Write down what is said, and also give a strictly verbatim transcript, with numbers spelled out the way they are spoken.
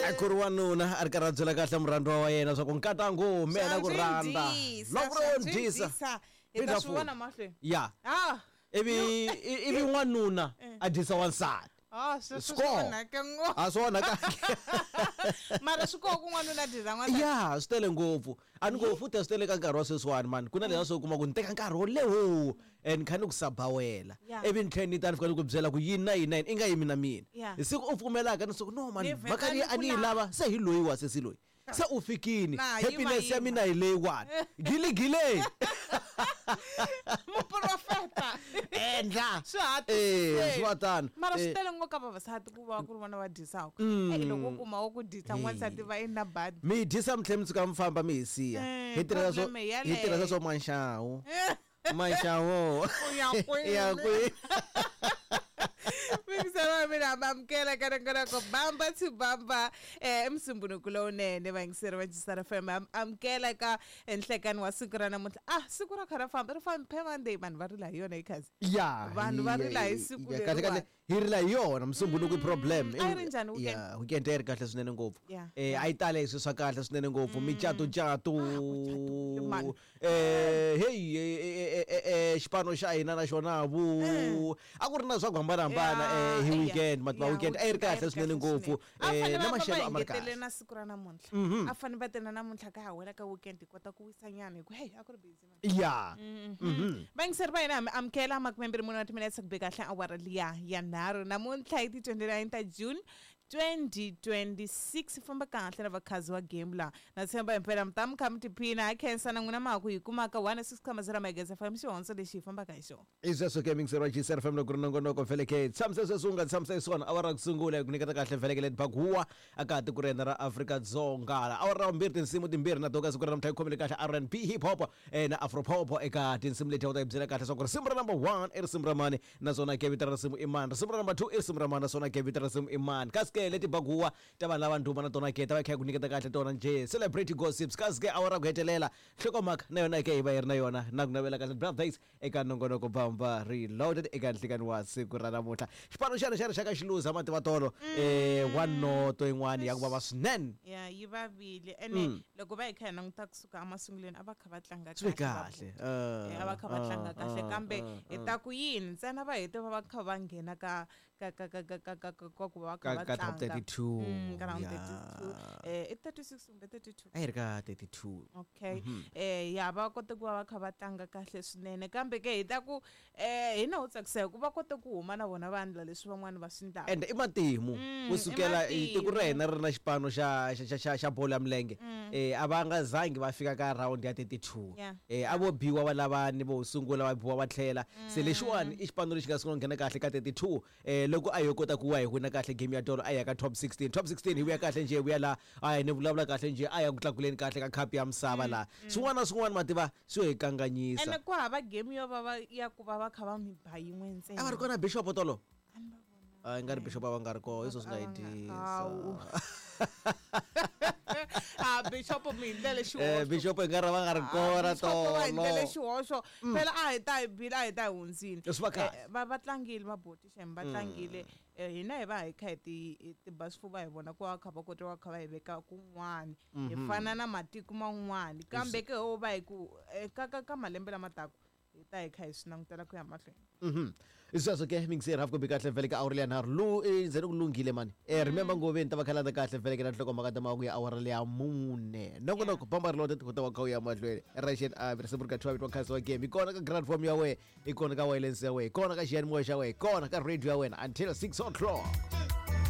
A ku ri wanuna a ri karhi a byela kahle murhandziwa wa yena swa ku nkatangu mina ku rhandza loko ro dyisa hi ta swi vona mahlweni ya ah ivi ivi n'wanuna a dyisa wansati. Ah, sweswo swi onhake ngopfu. A swi onhaka. Mara swi koho ku n'wanuna dyisa n'wansati. Ya, swi tele ngopfu. A ni ngo futhi a swi tele ka nkarhi wa sweswiwani mani. Ku na leswiya swo kuma ku ni teka nkarhi wo leha and ni kha ni ku sabawela. Ivi ni tlhela ni ta ni fika ni ku byela ku yini na yini na yini i nga yimi na mina. Hi siku u pfumelaka ni siku no mani mhaka leyi a ni yi lava se hi loyiwa sesi loyi. Se u fikini. Happiness ya mina hi leyiwani. Gili gile. Muprofeta. Endla. Swi hatlisile. Eh, swi tano. Mara swi tele ngopfu ka vavasati ku va ku ri vona va dyisaka. Eh, loko u kuma wo ku dyisa n'wansati va i na badi. Mi dyisa mi tlhela mi tshuka mi famba mi hi siya. Hi tirhisa swo hi tirhisa swo manxawu. Manxawu. U ya kwini? Ya kwini? Mingisela mina amukela ka nongonoko bamba to bamba eh emsumbunuko lowunene vayingiseri va G S R F M amukela ka enhlekani wa siku ra namuntlha. Ah, siku ra kha ra famba ri fambe Monday vanhu va rila hi yona ikhazi. Ya, vanhu va rila hi siku kahle kahle leriwani. Hi rila hi yona musumbunuko i problem. A yi ri njhani weekend? Ya, weekend a yi ri kahle swinene ngopfu. Yeah. Eh, a yi tale hi swilo swa kahle swinene ngopfu, micato cato. Man. Eh, hey, eh, eh, eh, xipano xa hina na xona vu. A ku ri na swa ku hambanahambana eh hi weekend, mativa weekend a yi ri kahle swinene ngopfu. Eh, na maxelo a ma ri kahle. Na siku ra namuntlha. A fanele va tena namuntlha ka ha wela ka weekend hi kota ku wisa nyana hi ku hey a ku ri busy man. Ya. Mhm. Vayingiseri va hina amukela makumembirhi mune wa timinetse ku be kahle awara liya ya nharhu namuntlha hi ti twenty-nine ta June twenty twenty-six. Famba kahle na vakhazi wa game la na tshemba himpela mi ta mi kha mi tiphina. Ha khensa na n'wina ma ku hi kumaka one six comma zero megahertz F M xihondzo lexi hi fambaka hi xona. I sweswo ke mingiseri wa G S R F M loko ri nongonoko vhele ke tshamise sweswi u nga tshamisa xiswona awara ku sungula ku nyiketa kahle vhele ke leti bakuwa aka tiko ra hina ra Afrika-Dzonga. Awara ra vumbirhi tinsimu timbirhi na toka siku ra namuntlha yi khomile kahle R and B, hip hop eh, na afro pop. Eka tinsimu leti u ta yi byela kahle swa ku risimu ra number one i risimu ra mani naswona ke vito ra risimu i mani, risimu ra number two i risimu ra mani naswona ke vito ra risimu i mani. Kasi ke leti bakuwa ta vanhu lava ndhuma na tona ke ta va kha yi ku nyiketa kahle tona njhe celebrity gossips. Kasi ke awara ku hetelela nhlokomhaka na yona ke hi va hi ri na yona na ku navela kahle birthdays eka nongonoko Bamba Reloaded eka nhlikani wa siku ra namuntlha. Xipano xana xa rixaka xiluza mativa tolo eh one noto yin'wana ya ku vava swinene. Ya, yi vavile ene loko va hi kha hi languta kusuka emasungulweni a va kha va tlanga swi kahle kahle. Eh, a va kha va tlanga kahle kambe hi ta ku yini ntsena va hete va va kha va nghena ka ka ka ka ka ka ka ka ka ku va va kha ka va ka top tlanga. thirty-two. Mm, ka round Ya. thirty-two, eh i thirty-six kumbe thirty-two? A yi ri ka thirty-two. Okay, eh ya, va kote ku va va kha va tlanga kahle swinene kambe ke hi ta ku eh hina ho tsakisa hi ku va kote ku huma na vona va endla leswi van'wani va swi endlaka. And i matimu Mm, kusukela i tiko ra matimu. hina ri na xipano xa xa xa xa xa bolo ya milenge eh a va nga zangi va fika ka round ya thirty-two. Yeah. eh a vo biwa va lava ni vo sungula va biwa va tlhela se lexiwani i xipano lexi nga sungula ku nghena kahle ka thirty-two. eh loko a yo kota ku wa hi wina kahle game ya tolo a ya ka top sixteen, top sixteen hi vuya kahle njhe hi vuya la a hi ni vulavula kahle njhe a ya ku tlakuleni kahle ka cup ya misava laha swin'wana na swin'wana mativa swi hi kanganyisa. Ene ku hava game yo va va ya ku va va kha va mi ba yin'we ntsena. A va ri kona bishop tolo? A ni va vona. A nga ri bishop a va nga ri kona hi swo swi nga A hi va nga- dyisa. Hawu. Ah, bishop mi hi ndlele eh xihoxo. Bishop i nga ri va nga ri kona Bishop va hi ndlele tolo. Xihoxo phela a hi ta hi bile a hi ta hi hundzini. Swi va kahle. Eh, va va tlangile vaboti xem va tlangile. Eh, hina hi va hi kha hi ti hi ti ba swifuva hi vona ku va kha va kota va kha va hi veka kun'wani hi fana na matiko man'wani kambe ke ho va hi ku eh, ka ka ka malembe lama taka hi ta hi kha hi swi langutela ku ya mahlweni. Mhm. Sweswo ke mingiseri hafu kumbe kahle vhele ka awara leya nharhu lu eh, ndzeni ku lunghile mani. Eh remember ngoveni ta va khalanda kahle vhele ke na nhlokomhaka ta mahungu ya awara leya mune. Nongonoko Bamba Reloaded ku ta va kha u ya mahlweni. Russian a risimu ri ka two vitwa Khazi wa game. Hi kona ka grand form ya wena, hi kona ka wireless ya wena, hi kona ka xiyanimoya xa wena, hi kona ka radio ya wena until six o'clock.